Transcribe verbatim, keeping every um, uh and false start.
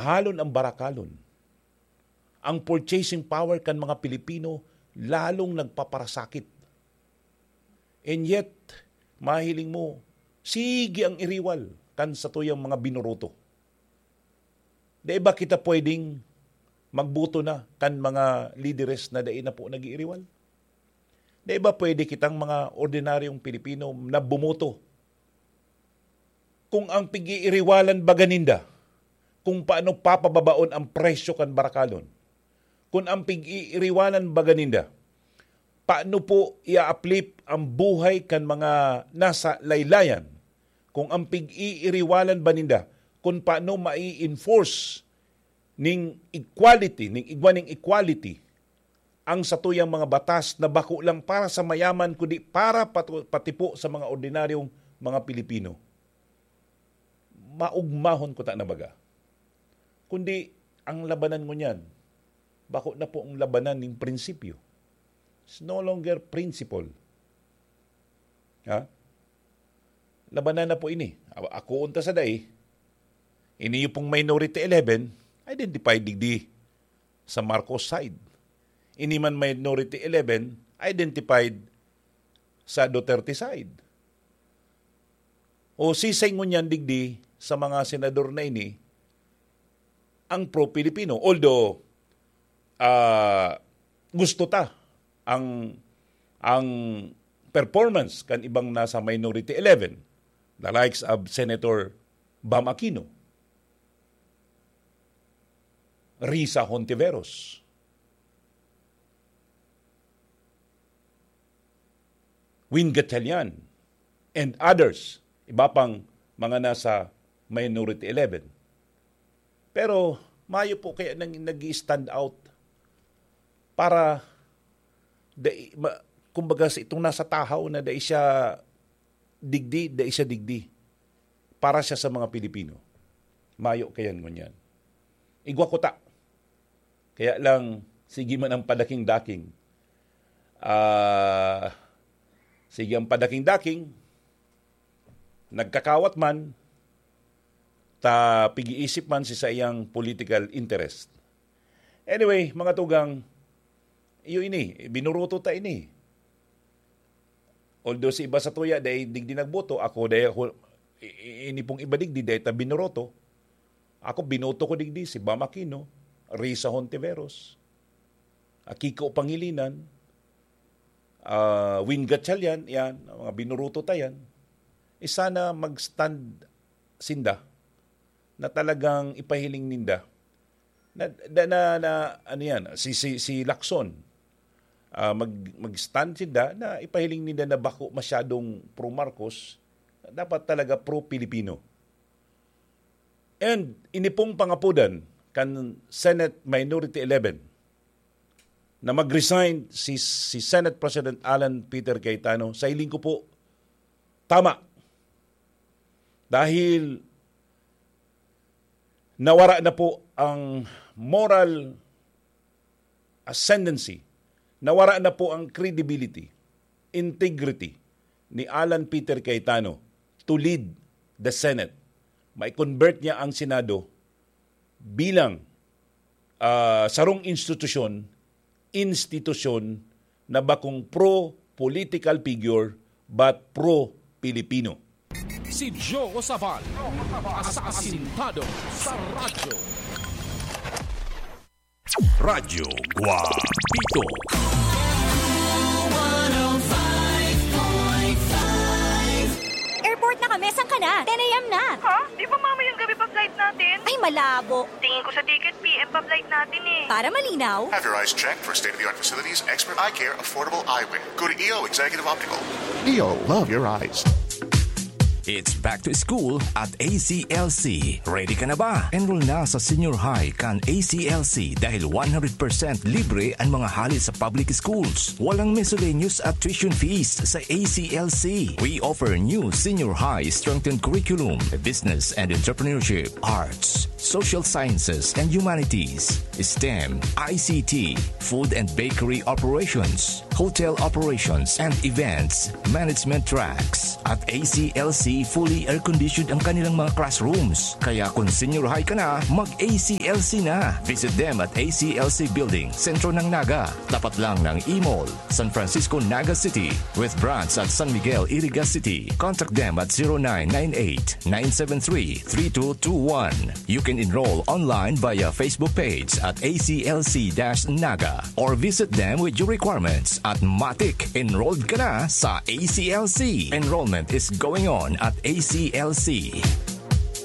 mahalon ang barakalon. Ang purchasing power kan mga Pilipino lalong nagpaparasakit. And yet, mahiling mo, sige ang iriwal kan satuyang mga binoroto. Dai ba kita pwedeng magboto na kan mga lideres na dai na po nag-iiriwal? Dai ba pwede kitang mga ordinaryong Pilipino na bumoto? Kung ang pig-iiriwalan baga ninda, kung paano papababaon ang presyo kan barakalon, kung ang pig-iiriwalan baga ninda, paano po i-uplift ang buhay kan mga nasa laylayan, kung ang pig-iiriwalan ba ninda, kung paano mai-enforce ning equality, ning igwa ning equality, ang satuyang mga batas na bako lang para sa mayaman, kundi para patu-, pati po sa mga ordinaryong mga Pilipino. Maugmahon ko ta na baga. Kundi, ang labanan ngunyan, bako na po ang labanan ning prinsipyo. It's no longer principle. Ha? Labanan na po ini. A-, ako unta sa dai, ini yung pong minority eleven, identified digdi sa Marcos side. Ini man minority eleven, identified sa Duterte side. O sisay ngunyan digdi sa mga senador na ini, ang pro-Pilipino. Although, ah, gusto ta ang, ang performance kan ibang nasa minority eleven, the likes of Senator Bam Aquino, Risa Hontiveros, Win Gatchalian, and others, iba pang mga nasa minority eleven. Pero mayo po kaya nang nag-i-stand out para dai, ma-, kumbaga, sa itong nasa tahaw na dai siya digdi, dai siya digdi. Para siya sa mga Pilipino. Mayo kayan ngunyan. Igwa ko ta. Kaya lang, sige man ang padaking-daking. Ah, sige ang padaking-daking, nagkakawat man, ta pig-iisip man si saiyang political interest. Anyway, mga tugang, iyo ini, binuruto ta ini. Although si iba sa tuya, dai digdi nagboto, ako dai ako, i-, i-, ini pong iba digdi, dai ta binuroto. Ako, binoto ko digdi si Bam Aquino, Risa Hontiveros, ah, Kiko Pangilinan, ah, Win Gatchalian, yan, mga binuruto ta yan. Eh, sana mag-stand sinda na talagang ipahiling ninda na, na, na, na, ano yan, si, si, si Lacson, ah, mag-, mag-stand sinda na ipahiling ninda na bako masyadong pro-Marcos, dapat talaga pro-Pilipino. And ini pong pangapodan kan Senate Minority eleven na mag-resign si, si Senate President Alan Peter Cayetano, sa hiling ko po, tama. Dahil nawara na po ang moral ascendancy, nawara na po ang credibility, integrity ni Alan Peter Cayetano to lead the Senate. Mai-convert niya ang Senado bilang, ah, sarong institusyon, institusyon na bakong pro-political figure but pro-Pilipino. Si Joe Sabal, asasintado sa radyo. Radyo Guapito. Airport na kami, saan ka na? Ten a m na. Ha? Di ba mamayang gabi pa flight natin? Ay, malabo. Tingin ko sa ticket, P M pa flight natin eh. Para malinaw. Have your eyes checked for state-of-the-art facilities, expert eye care, affordable eyewear. Go to E O Executive Optical. E O, love your eyes. It's back to school at A C L C. Ready ka na ba? Enroll na sa senior high kan A C L C dahil one hundred percent libre ang mga hali sa public schools. Walang miscellaneous at tuition fees sa A C L C. We offer new senior high strengthened curriculum, business and entrepreneurship, arts, social sciences and humanities, STEM, I C T, food and bakery operations, hotel operations and events management tracks. At A C L C Fully air-conditioned ang kanilang mga classrooms. Kaya kung senior high ka na, mag-A C L C na. Visit them at A C L C Building, sentro ng Naga. Tapat lang ng E-Mall, San Francisco, Naga City. With branch at San Miguel, Iriga City. Contact them at zero nine nine eight, nine seven three, three two two one. You can enroll online via Facebook page at A C L C dash Naga or visit them with your requirements at Matik. Enrolled ka na sa A C L C. Enrollment is going on at A C L C.